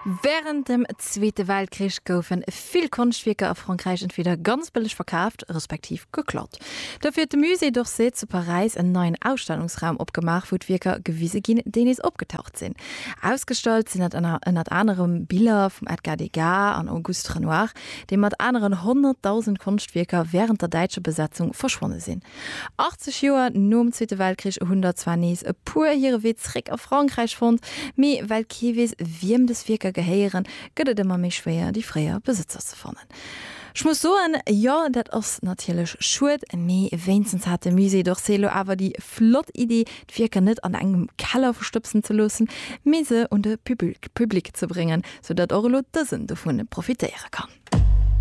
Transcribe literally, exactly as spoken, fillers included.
Wärend dem Zweete Weltkrich goufe vill Konschtwierker a Frankräich entweder ganz bëlleg verkaaft, respektiv geklaut. Dofir huet de Musée d'Orsay zu Paräis en neien Ausstellungsraum opgemaach, wou d'Wierker gewise ginn, déi nees opgetaucht sinn. Ausgestallt sinn dat ënnert anerem Biller vum Edgar Degas an Auguste Renoir, déi mat aneren honnertdausend Konschtwierker wärend der däitscher Besetzung verschwonne sinn. achtzeg Joer nom Zweete Weltkrich hunn der zwar nees e puer hire Wee zréck a Frankräich fonnt, mee well kee weess, wiem dës Wierker gehéieren, gëtt et ëmmer méi schwéier, déi fréier Besëtzer ze fannen. Ech muss soen, jo, dat ass natierlech schued, mee wéinstens hat de Musée d'Orsay lo awer déi flott Iddi, d'Wierker net an engem Keller verstëbsen ze loossen, mee se un de Public ze bréngen, sou datt och elo dësen dovun profitéiere kann.